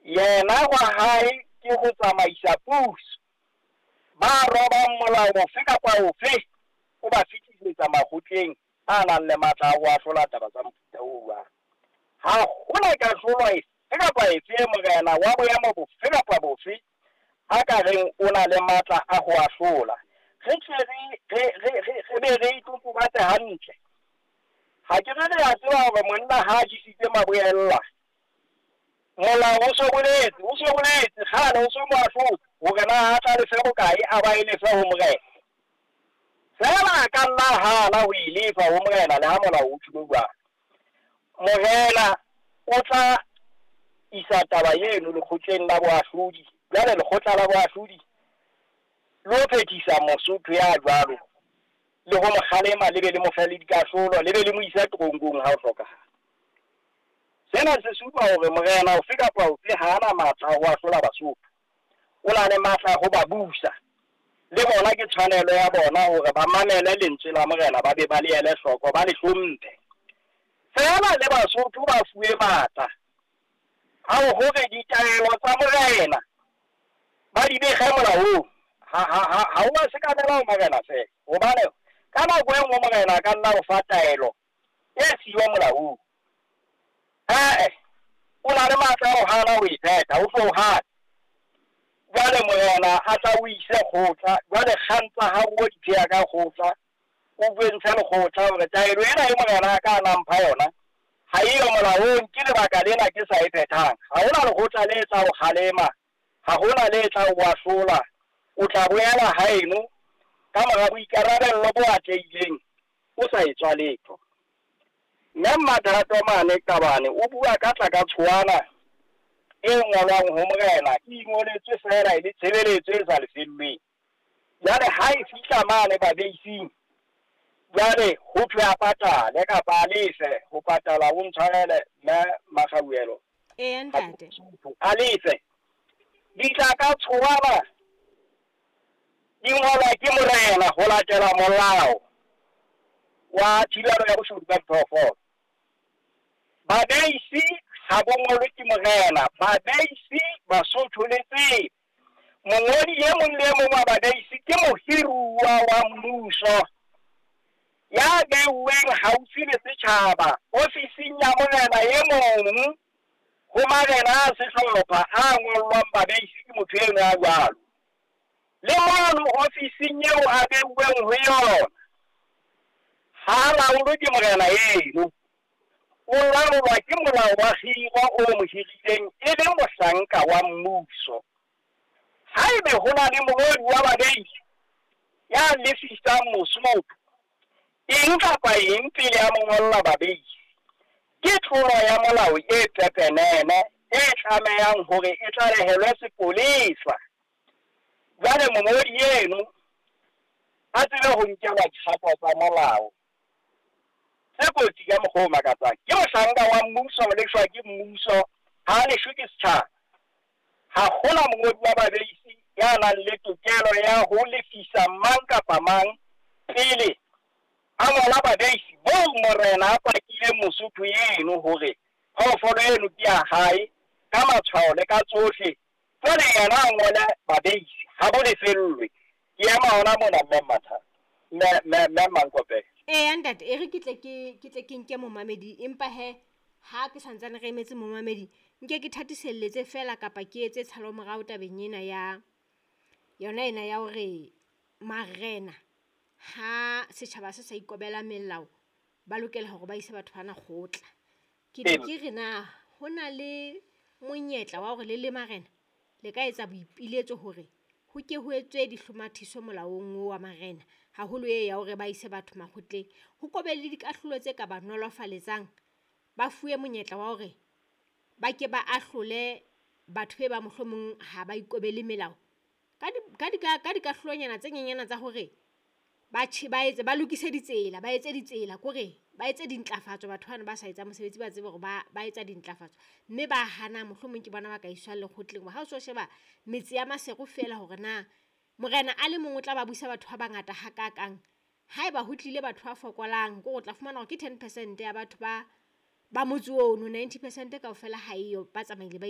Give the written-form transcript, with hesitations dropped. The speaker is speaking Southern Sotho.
Yena wa hae ke ho tsamaisa puso. Ba robang molao ofe kapa ofe o ba fetisetsa makgotleng a nang le matla a ho ahlola taba tsa mofuta o jwalo. Ha hona kahlolo efe kapa efe e morena wa boemo bofe kapa bofe a ka reng o na le matla a ho ahlola. Re tle re be re itotobatse hantle. Ha ke re re a tseba hore monna ha a jesitse maboella, molao o so boletse, o so boletse kgale, o so mo ahlotse hore na a tla lefe bokae, a ba e lefe ho morena. Feela a ka nna hana ho e lefa ho morena le ha molao o tjholo jwalo. Morena o tla isa taba eno lekgotleng la boahlodi. Jwale lekgotla la boahlodi le ho phethisa Mosotho ya jwalo, le ho mo kgalema, le be le mo fe le dikahlolo, le be le mo isa teronkong ha ho hlokahala. Sena se supa hore morena ofe kapa ofe ha ana matla a ho ahlola Basotho. O na le matla a ho ba busa. Le bona ke tshwanelo ya bona hore ba mamele lentswe la morena, ba be ba le ele hloko, ba le hlomphe. Feela le Basotho ba fuwe matla a hore ditaelo tsa morena ba di behe molaong. Ha o a sekamela ho morena feela, hobane ka nako e nngwe morena a ka nna o fa taelo e siyo molaong. O na le matla a ho hana ho e phetha, o tlo hana. Jwale morena a tla o ise kgotla, jwale kgang tsa hao o di pheha ka kgotla, o bontshe lekgotla hore taelo ena e morena a ka nang mpha yona ha eyo molaong, ke lebaka lena ke sa e phethang. Ha hona lekgotla le tla o kgalema, ha hona le tla o ahlola. O tla boela haeno ka mora boikarabello bo atlehileng, o sa etswa letho. Mme Mmathato mane Qabane o bua ka tla ka tshoana e ngolwang ho morena, e ingoletswe feela e le tshebeletso e sa lefellweng. Jwale ha e fihla mane babeising, jwale ho thwe a patale kapa a lefe. Ho patala o ntshwarele mme Makgauelo. Eya ntate. A lefe. Ditla ka tshoana di ngolwa ke morena ho latela molao wa thibelo ya boshodu ba diphoofolo. Babeisi ha bo ngolwe ke morena, babeisi Basotho le tsebe. Mongodi e mong le e mong wa babeisi ke mohiruwa wa mmuso ya beuweng haufi le setjhaba ofising ya morena e mong ho marena a sehlopha a ngollwang babeisi ke motho eno ya jwalo. Le mono ofising eo a beuweng ho yona ha laolwe ke morena eno, o laolwa ke molao wa kgiro o mo hirileng e le mohlanka wa mmuso. Haebe ho na le mongodi wa babeisi ya lefisang Mosotho eng kapa eng pele a mo ngolla babeisi, ke tlolo ya molao e pepenene e tlamehang hore e tlalehelwe sepolesa. Jwale mongodi eno a tsebe ho nkelwa dikgato tsa molao tse kotsi ka mokgwa o makatsang. Ke mohlanka wa mmuso, o lefshwa ke mmuso, ha a lefshwe ke setjhaba. Ha hona mongodi wa babeisi ya nang le tokelo ya ho lefisa mang kapa mang pele a ngola babeisi boo morena a pakileng Mosotho eno hore phoofolo eno ke ya hae ka matshwao le ka tsohle. Jwale yena a ngole babeisi ha bo lefellwe. Ke ema hona mona mme Mmathato, mme Mankopela. Eya ntate, e re ke tle ke nke momamedi, empa he ha ke santsane re emetse momamedi, nke ke thatiselletse fela kapa ke etse tshalo morao tabeng ena ya yona ena ya hore marena ha setjhaba se sa ikobela melao ba lokela hore ba ise batho bana kgotla. Ke ne ke re na ho na le monyetla wa hore le le marena le ka etsa boipiletso hore ho ke ho etswe dihlomathiso molaong wa marena, haholo e ya hore ba ise batho makgotleng, ho kobe le dikahlolo tse ka ba nolofaletsang, ba fuwe monyetla wa hore ba ke ba ahlole batho be ba mohlomong ha ba ikobele melao ka dikahlolonyana tse nyenyana tsa hore ba etse ba lokise ditsela, ba etse ditsela kore ba etse dintlafatso. Batho bana ba sa etsa mosebetsi ba tsebe hore ba etsa dintlafatso, mme ba hana mohlomong ke bona ba ka iswang lekgotleng. Ha o so sheba metse ya Maseru feela hore na morena a le mong o tla ba busa batho ba bangata hakakang, haeba ho tlile batho ba fokolang kore o tla fumana hore ke 10% ya batho ba motse ono, 90% kaofela ha eyo, ba tsamaile ba